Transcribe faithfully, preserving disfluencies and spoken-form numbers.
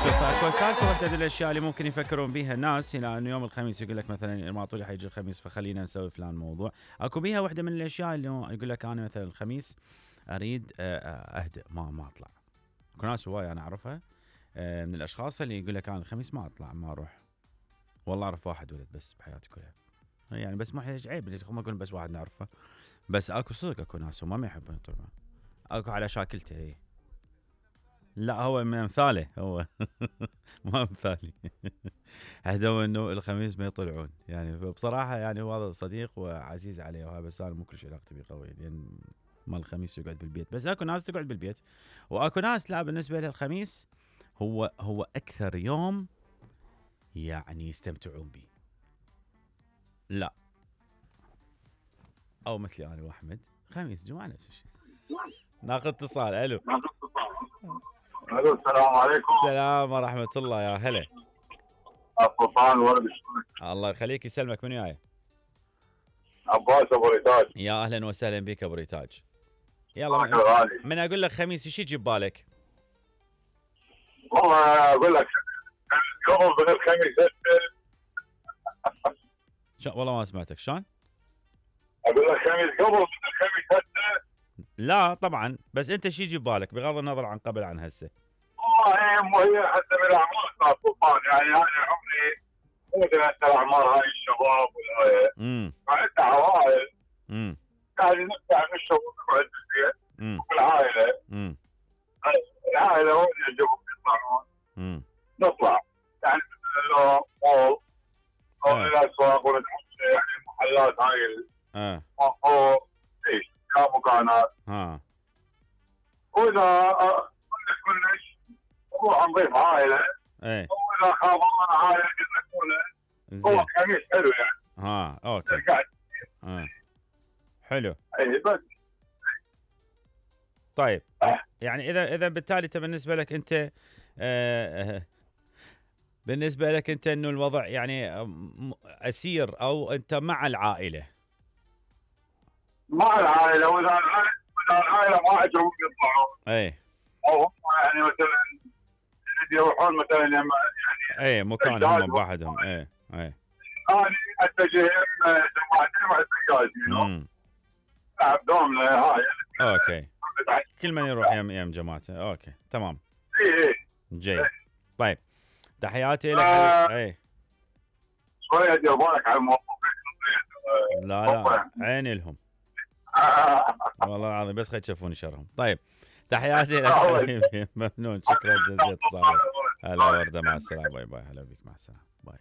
اكو سالفه واحده من الاشياء اللي ممكن يفكرون بيها الناس هنا انه يوم الخميس يقول لك مثلا معطولي حيجي الخميس فخلينا نسوي فلان موضوع. اكو بيها واحده من الاشياء اللي يقول لك انا مثلا الخميس اريد اهدأ ما ما اطلع. اكو ناس هواي انا اعرفها من الاشخاص اللي يقول لك انا الخميس ما اطلع ما اروح. والله اعرف واحد ولد بس بحياتي كلها يعني بس ما عيب هم يقولون بس واحد نعرفه بس اكو صدق اكو ناس هم ما يحبون يطلعون. اكو على شاكلته هي لا هو من امثاله هو ما امثالي هدوا انه الخميس ما يطلعون يعني بصراحه يعني هو هذا صديق وعزيز عليه وهذا بس انا مو كل شيء علاقتي بيه قوي لان ما الخميس يقعد بالبيت بس اكو ناس تقعد بالبيت واكو ناس لا بالنسبه لها الخميس هو هو اكثر يوم يعني يستمتعون به. لا او مثلي انا واحمد خميس جمعه نفس الشيء. ناخذ اتصال. الو الو السلام عليكم. السلام ورحمه الله يا هلا. الطوفان ولد الله يخليك يسلمك. من وياي؟ عباس ابو ريتاج. يا اهلا وسهلا بك ابو ريتاج. يلا من, من اقول لك خميس ايش يجي ببالك؟ والله اقول لك قبل من الخميس شو والله ما سمعتك شلون؟ اقول لك خميس قبل من الخميس هسه. لا طبعا بس انت شو يجي ببالك بغض النظر عن قبل عن هسه؟ والله هي حتى من الاعمار صار طوفان يعني انا عمري مو مثل الاعمار هاي الشباب والهاي. امم فانت عوائل امم يعني نطلع نشرب ونقعد بالبيت والعائله. امم العائله وين يعجبهم يطلعون؟ امم نطلع يعني مثل مول او آه. الاسواق ونتمشى يعني المحلات هاي اه او ايش كمكانات. ها واذا كلش كلش نروح نضيف عائله. ايه واذا خابرنا عائله قلنا هو خميس حلو يعني. ها اوكي قاعد اه حلو. اي بس طيب يعني اذا اذا بالتالي انت بالنسبه لك انت آه بالنسبه لك انت انه الوضع يعني اسير او انت مع العائله؟ مع العائله واذا العائله واذا العائله ما عجبهم يطلعون. اي او هم يعني مثلا يروحون مثلا يعني اي مكان هم بوحدهم. اي اي انا اتجه يم جماعتين واتجاز امم العب دومنا هاي. اوكي كل من يروح يم يم جماعته. اوكي تمام. اي اي جيد. طيب تحياتي لك. آه اي شويه دير بالك على الموضوع. لا لا عيني لهم والله العظيم بس خلي تشوفوني شرهم. طيب تحياتي لك حبيبي ممنون شكرا جزيلا اتصالك. هلا ورده مع السلامه. باي باي. هلا بك مع السلامه. باي.